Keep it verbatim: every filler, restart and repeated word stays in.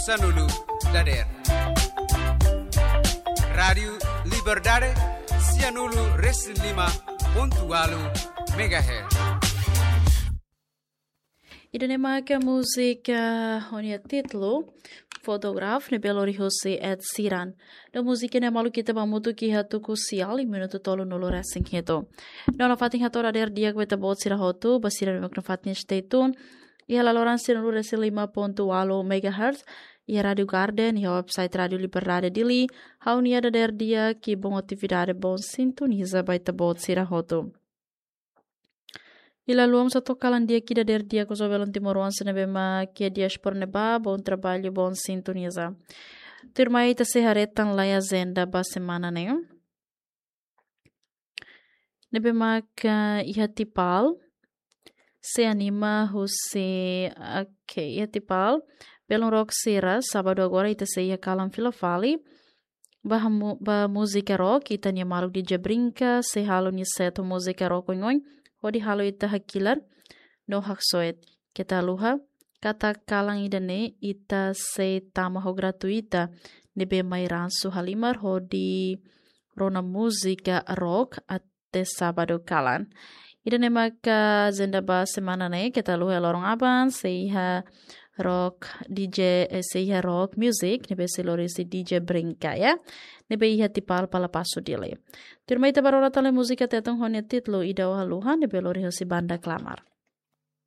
Sanulu dader. Rádiu Liberdade, sianulu resin lima pontu walu megahertz. Ida-ne'e mak múzika ho nia títulu Photograph ne'ebé lori husi Ed Sheeran. No múzika ne'e maluk ita ba hamutuk iha tuku sial iha minutu tolunulu resin hitu. No nafatin hato'o dader di'ak ba ita-boot sira hotu, ba sira ne'ebé nafatin stay tune iha laloran sianulu resin lima pontu walu megahertz, iha Rádiu Garden, iha website Rádiu Liberdade Dili, ha'u-nia dader di'ak, bom atividade, bom sintoniza ba ita-boot sira hotu. Iha loloos atu kalan di'ak ida dader di'ak husu ba belun timoroan sira ne'ebé mak iha diáspora ne'ebá, bom trabalho, bom sintoniza. Tuirmai ita sei haree tan lai ajenda ba semana ne'e. Ne'ebé mak iha Tipal, sei anima husi, oke, iha Tipal, belun rock sira, sábadu agora ita sei iha kalan fila fali, ba mu-, ba múzika rock, ita-nia maluk D J Brinka, sei halo nia set múzika rock oioin, hodi halo ita hakilar no haksoit. Keta haluha, katak kalan ida-ne'e ita sei tama ho gratuita, ne'ebé mai ransu halimar hodi rona múzika rock até sábadu kalan. Ida-ne'e maka ajenda ba semana ne'e, keta haluha loron aban, sei iha rock D J, eh, sei iha rock music, ne'ebé sei lori husi D J Brinka, ya. Ne'ebé iha Tipal Palapasu Dili. Tuirmai ita bá rona tan lai múzika Tetun ho nia títulu Ida Ó Haluha, ne'ebé lori husi Banda Klamar.